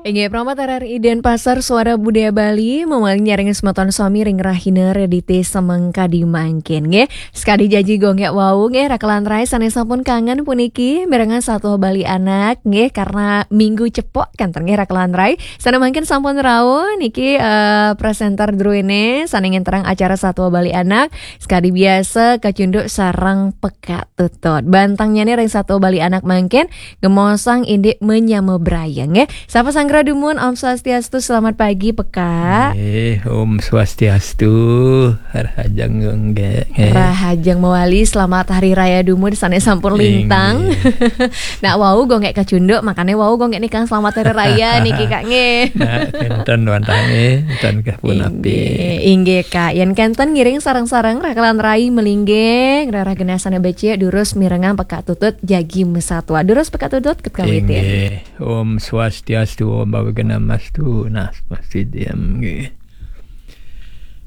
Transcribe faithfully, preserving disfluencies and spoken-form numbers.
Inggih, Promat R R I Denpasar, Suara Budaya Bali, mamaling nyarengin semeton sami ring rahina Redite Semengkadi mangkin, nggih. Sekadi janji Gung Gek wau, nggih, Raka lan Rai sane sampun kangen puniki mirengang Satua Bali Anak, nggih, karena minggu cepok kenten, nggih, Raka lan Rai. Sane mangkin sampun rauh niki, eh, presenter druene sane ngenterang acara Satua Bali Anak, sekadi biasa kacunduk sareng pekak tutut. Bantangnyane ring Satua Bali Anak mangkin, gemosang indik menyama brayeng, nggih. Sapa sanggra dumun, Om Swastiastu, selamat pagi, pekak. Eh, Om Swastiastu, rahajeng nggih. Rahajeng mawali, selamat Hari Raya dumun sane sampun lintang. Nak wau Gung Gek kacunduk, makane wau Gung Gek nikang selamat Hari Raya niki, Kak, nggih. Nah, kenten wantah nggih, kenten kah punapi. Inggih, inggih, Kak. Yen kenten ngiring sareng-sareng Raka lan Rai malinggih, rerah genah sane becik, durus mirengang pekak tutut jagi masatua. Durus pekak tutut, ket kawitin. Inggih. Om Swastiastu, Om Awighnamastu, Namaste Dhyam nggih.